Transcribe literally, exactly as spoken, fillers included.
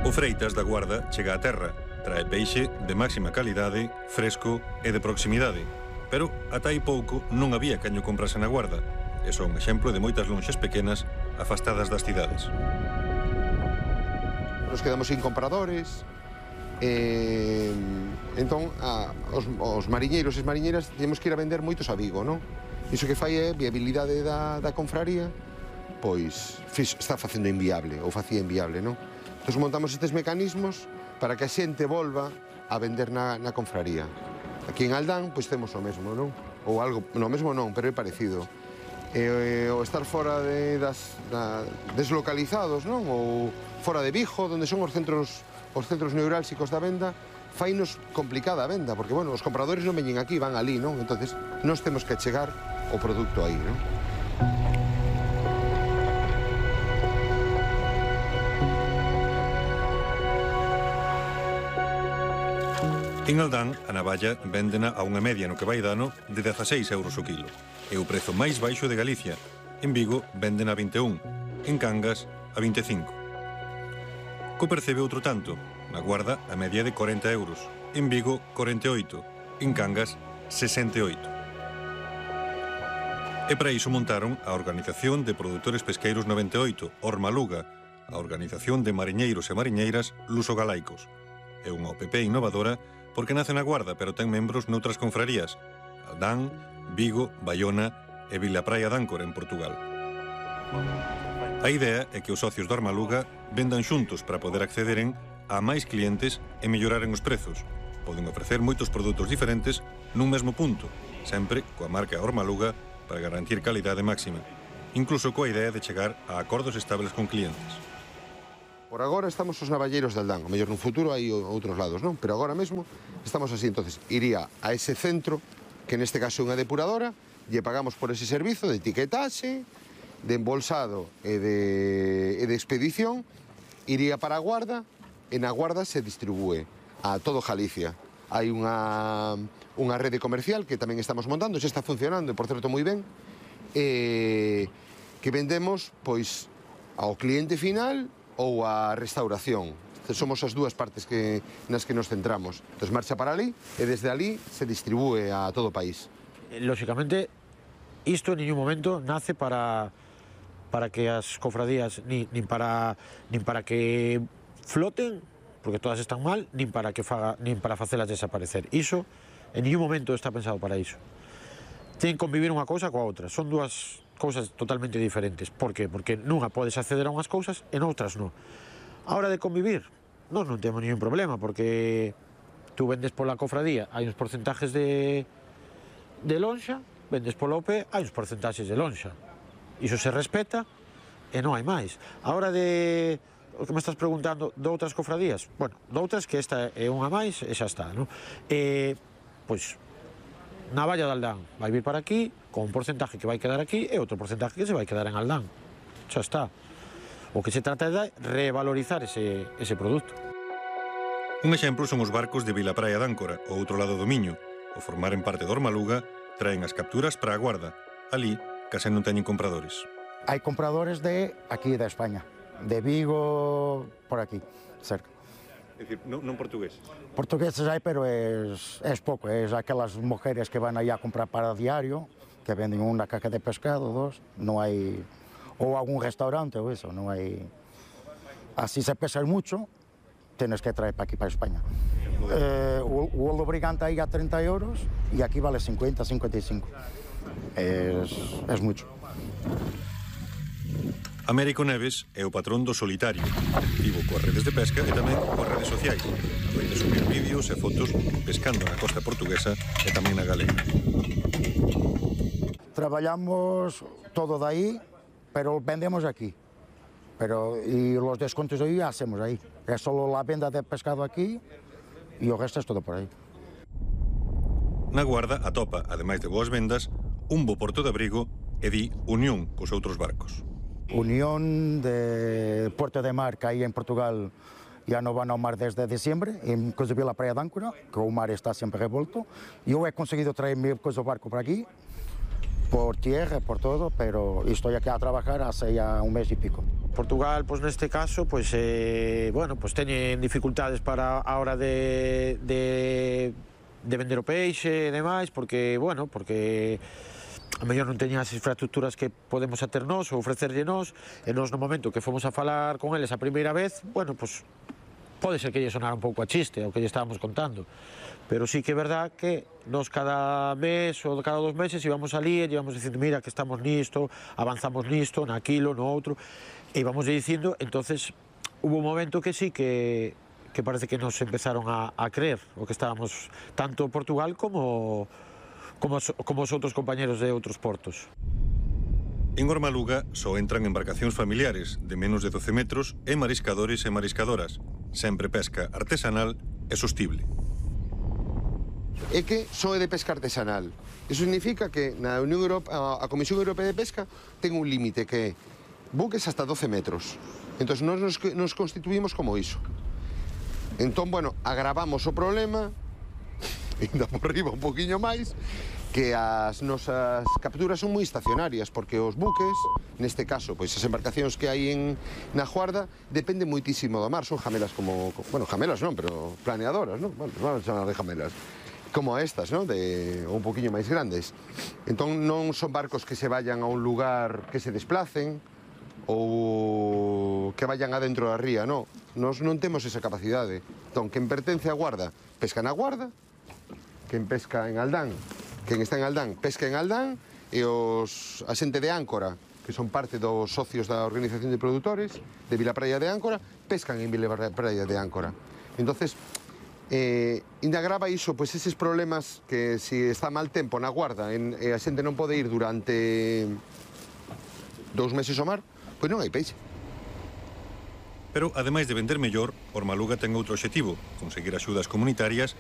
O Freitas da Guarda chega a terra, trae peixe de máxima calidade, fresco e de proximidade. Pero ata hai pouco non había caño comprase na Guarda, e son exemplo de moitas lonxas pequenas afastadas das cidades. Nos quedamos sin compradores, e entón a, os, os mariñeiros e as mariñeiras temos que ir a vender moitos a Vigo, non? Iso que fai é a viabilidade da, da confraría, pois fix, está facendo inviable, ou facía inviable, non? Entón montamos estes mecanismos para que a xente volva a vender na, na confraría. Aquí en Aldán, pois temos o mesmo, non? Ou algo, no mesmo non, pero é parecido. E, o estar fora de, das, da, deslocalizados, non? Ou fora de Vigo, onde son os centros, os centros neurálxicos da venda, fainos complicada a venda, porque, bueno, os compradores non veñen aquí, van ali, non? Entonces, nós temos que chegar o produto aí, non? En Aldán, a navalla véndena a unha media no que vai dano de dezaseis euros o quilo. É o prezo máis baixo de Galicia. En Vigo véndena a vinte e un, en Cangas a vinte e cinco. Co percebe outro tanto. Na Guarda, a media de corenta euros. En Vigo, corenta e oito. En Cangas, sesenta e oito. E para iso montaron a Organización de Produtores Pesqueiros noventa e oito, Ormaluga, a Organización de Mariñeiros e Mariñeiras Luso-Galaicos. É unha O P P innovadora porque nace na Guarda, pero ten membros noutras confrarías: Aldán, Vigo, Baiona e Vilapraia de Áncora, en Portugal. A idea é que os socios do Ormaluga vendan xuntos para poder accederen a máis clientes e melloraren os prezos. Poden ofrecer moitos produtos diferentes nun mesmo punto, sempre coa marca Ormaluga para garantir calidade máxima, incluso coa idea de chegar a acordos estables con clientes. Por agora estamos os navalleiros de Aldán, o mellor nun futuro hai outros lados, non? Pero agora mesmo estamos así, entonces iría a ese centro, que neste caso é unha depuradora, lle pagamos por ese servizo de etiquetaxe, de embolsado e de, e de expedición, iría para a Guarda, e na Guarda se distribúe a todo Galicia. Hai unha, unha rede comercial que tamén estamos montando, xa está funcionando, e por certo moi ben, e que vendemos pois ao cliente final ou a restauración. Somos as dúas partes que, nas que nos centramos. Entón, marcha para ali e desde ali se distribúe a todo o país. Lóxicamente, isto en ningún momento nace para, para que as cofradías, nin, nin, para, nin para que floten, porque todas están mal, nin para, que faga, nin para facelas desaparecer. Iso, en ningún momento está pensado para iso. Ten que convivir unha cousa coa outra. Son dúas cousas totalmente diferentes. Por que? Porque nunha podes acceder a unhas cousas e noutras non. A hora de convivir, nós non temos ningún problema, porque tú vendes pola cofradía, hai uns porcentajes de, de lonxa, vendes pola O P, hai uns porcentaxes de lonxa. Iso se respeta e non hai máis. A hora de, o que me estás preguntando, de outras cofradías, bueno, de outras que esta é unha máis e xa está, non? E, pois, Navalla de Aldán vai vir para aquí, con un porcentaje que vai quedar aquí e outro porcentaje que se vai quedar en Aldán. Xa está. O que se trata é de revalorizar ese, ese produto. Un exemplo son os barcos de Vilapraia de Áncora, ao outro lado do Miño. Ao formaren parte do Ormaluga, traen as capturas para a Guarda. Ali, case non teñen compradores. Hai compradores de aquí, de España. De Vigo, por aquí, cerca. É dicir, non, non portugueses? Portugueses hai, pero é pouco. É aquelas mujeres que van aí a comprar para diario, que venden unha caca de pescado, dos, non hai... Ou algún restaurante ou eso, non hai... Así se pesas mucho, tienes que traer para aquí, para España. Eh, o, o lubricante aí a trinta euros e aquí vale cincuenta, cincuenta e cinco. É mucho. Américo Neves é o patrón do Solitario, activo coas redes de pesca e tamén coas redes sociais. Adoita subir vídeos e fotos pescando na costa portuguesa e tamén na galega. Traballamos todo de aí, pero vendemos aquí. Pero, e os descontos aí hacemos aí. É só a venda de pescado aquí e o resto é todo por aí. Na Guarda atopa, ademais de boas vendas, un bo porto de abrigo e di unión cos outros barcos. Unión de Puerto de Mar, que aí en Portugal ya no van ao mar desde diciembre, en coisa Vila Praia de Áncora, que o mar está sempre revolto, e eu he conseguido traerme coisa o barco para aquí, por tierra, por todo, pero estoy aquí a trabajar hace ya un mes y pico. Portugal, pues neste caso, pues, eh, bueno, pues teñen dificultades para a hora de, de, de vender o peixe e demais, porque, bueno, porque a mellor non teñen as infraestructuras que podemos a ter nós ou ofrecerlle nós, e nós no momento que fomos a falar con eles a primeira vez, bueno, pues pode ser que lle sonara un pouco a chiste o que lle estábamos contando, pero sí que é verdad que nos cada mes ou cada dos meses íbamos ali e íbamos dicindo, mira que estamos nisto, avanzamos nisto, naquilo, no outro, e íbamos dicindo, entonces hubo un momento que sí que, que parece que nos empezaron a, a creer o que estábamos tanto Portugal como, como, como os outros compañeros de outros portos. En Ormaluga só entran embarcacións familiares de menos de doce metros e mariscadores e mariscadoras, sempre pesca artesanal e sostible. É que só é de pesca artesanal. Iso significa que na Unión Europea, a Comisión Europea de Pesca ten un límite que é buques hasta doce metros. Entón, nós nos, nos constituímos como iso. Entón, bueno, agravamos o problema, ainda por riba un poquinho máis, que as nosas capturas son moi estacionarias, porque os buques, neste caso, pois as embarcacións que hai en, na Guarda, dependen moitísimo do mar, son jamelas como, bueno, jamelas non, pero planeadoras, non? Bueno, vamos a chamar de jamelas, como estas, non? De, un poquinho máis grandes. Entón non son barcos que se vayan a un lugar que se desplacen, ou que vayan adentro da ría, non. Nos non temos esa capacidade. Entón, quen pertence á Guarda, pesca na Guarda, quen pesca en Aldán, quen está en Aldán, pesca en Aldán, e os, a xente de Áncora, que son parte dos socios da Organización de Produtores de Vilapraia de Áncora, pescan en Vilapraia de Áncora. Entonces, eh, ainda grava iso, pois eses problemas que se está mal tempo na Guarda en, e a xente non pode ir durante dous meses ao mar, pois non hai peixe. Pero, ademais de vender mellor, Ormaluga ten outro obxectivo, conseguir axudas comunitarias